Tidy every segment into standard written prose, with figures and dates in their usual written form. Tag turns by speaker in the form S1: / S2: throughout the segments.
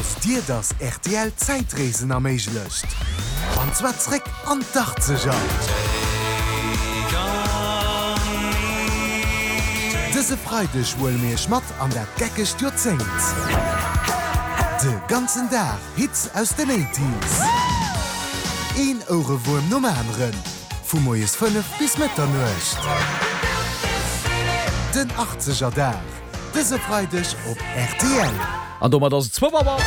S1: Wosst Dir, dass rtl Zäitreesen erméiglecht? An zwar zréck an d'Achtzeger! Dëse Freideg huele mir Iech mat an dat geckegt Joerzéngt. De ganzen Dag Hits aus den Eighties. Een Ouerewuerm nom aneren, vu moies 5 bis Mëtternuecht. Den Achtzeger Dag. Dëse Freideg op rtl.
S2: An domat ass et zwou Auer.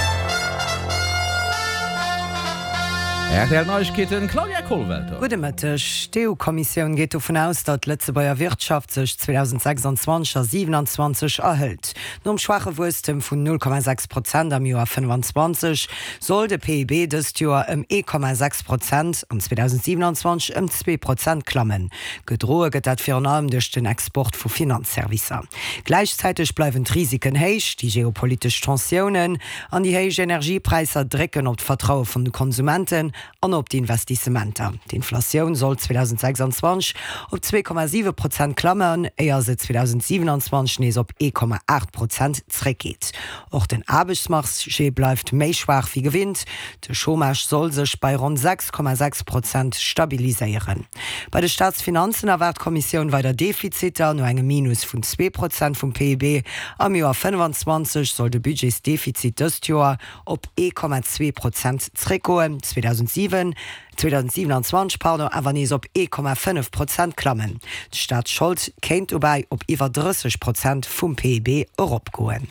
S2: Rtl Neiegkeeten, Claudia Kollwelter.
S3: Gudde Mëtteg. D'EU-Kommissioun geet dovun aus, datt d'Lëtzebuerger Wirtschaft sech 2026 a 27 erhëlt. Nom schwaache Wuesstem vun 0,6 Prozent am Joer 25 soll de PIB dëst Joer ëm 1,6 Prozent an 2027 ëm 2 Prozent klammen. Gedroe gëtt dat virun allem duerch den Export vu Finanzservicer. Gläichzäiteg bleiwen d'Risiken héich, déi geopolitesch Tensiounen an déi héich Energiepräisser drécken op d'Vertraue vun de Konsumenten an op d'Investissementer. D'Inflatioun soll 2026 op 2,7 Prozent klammen, éier se 2027 nees op 1,8 Prozent zréckgeet. Och den Aarbechtsmarché bleift méi schwaach wéi gewinnt. De Chômage soll sech bei ronn 6,6 Prozent stabiliséieren. Bei de Staatsfinanzen erwaart d'Kommissioun weider Defiziter. No engem Minus vun 2 Prozent vum PIB am Joer 25 soll de Budgetsdefizit dëst Joer op 1,2 Prozent zréckgoen, 2007, 2027 pardon, awer nees op 1,5 Prozent klammen. D'Staatsschold kéint dobäi op iwwer 30 Prozent vum PIB eropgoen.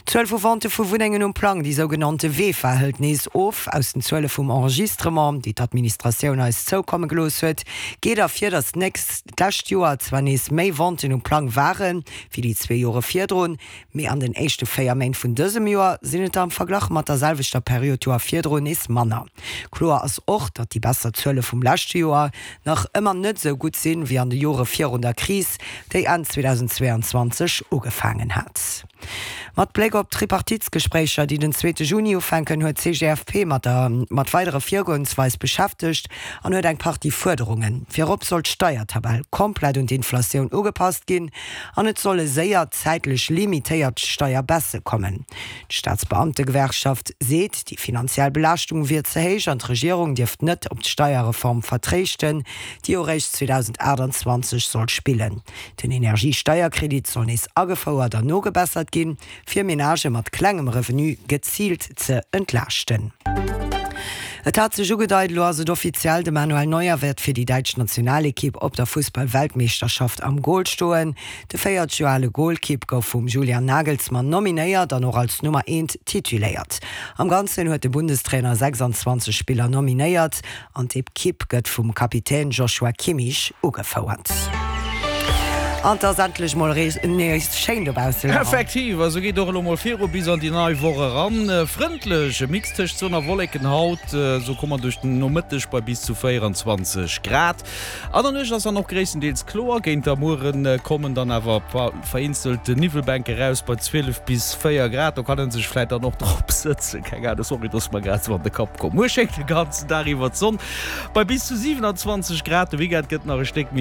S3: D'Zuel vu Vente vu Wunnengen um Plang, déi sougenannte VEFA, hëlt nees of. Aus den Zuele vum Enregistrement, déi d'Administratioun eis zoukomme gelooss huet, geet ervir, datt d'lescht Joer zwar nees méi Venten um Plang ware wéi déi zwee Jore virdrun, mee an den éischte 4 Méint vun dësem Joer sinn et der am Verglach mat der selwechter Period d'Joer virdrun nees manner. Kloer ass och, datt déi besser Zuele vum leschte Joer nach ëmmer net esou gutt sinn, wéi an de Jore virun der Kris, déi Enn 2022 ugefaangen hat. Mat Bléck op d'Tripartitsgespréicher, déi den zweete Juni ufänken, huet d'CGFP mat der mat weidere Virgoensweis beschäftegt an huet eng Partie Fuerderungen. Virop soll d'Steiertabell komplett un d'Inflatioun ugepasst ginn an et solle séier zäitlech limitéiert Steierbaisse kommen. D'Staatsbeamtegewerkschaft seet, déi finanziell Belaaschtung wier ze héich an d'Regierung dierft net op d'Steierreform vertréischten, déi jo réischt 2028 soll spillen. Den Energiesteierkredit soll nees agefouert an nogebessert ginn, fir Menagë mat klengem Revenu geziilt ze entlaaschten. Et hat sech ugedeit, elo ass et offiziell, De Manuel Neuer wäert fir déi däitsch Nationalekipp op der Fussball-Weltmeeschterschaft am Gol stoen. De 40 Joer ale Golkipp gouf vum Julian Nagelsmann nominéiert an och als Nummer eent tituléiert. Am Ganzen huet de Bundestrainer 26 Spiller nominéiert an d'Ekipp gëtt vum Kapitän Joshua Kimmich ugefouert. An 't ass endlech mol nees schéin dobaussen, Laurent.
S2: Effektiv, a sou geet och elo mol viru bis an déi nei Woch eran. Frëndlech, e Mix tëscht Sonn a Wolleken haut, sou komme mer duerch den Nomëtteg bei bis zu 24 Grad. An der Nuecht ass dann och gréisstendeels kloer, géint der Muere kommen dann awer vereenzelt Niwwelbänke raus bei 12 bis 4 Grad. Do kann ee sech vläit dann och drop sëtzen, keng Ahnung, sorry, dass mer grad sou an de Kapp komm. Muer schéngt de ganzen Dag iwwer d'Sonn bei bis zu 27 Grad. De Weekend gëtt nach e Stéck méi.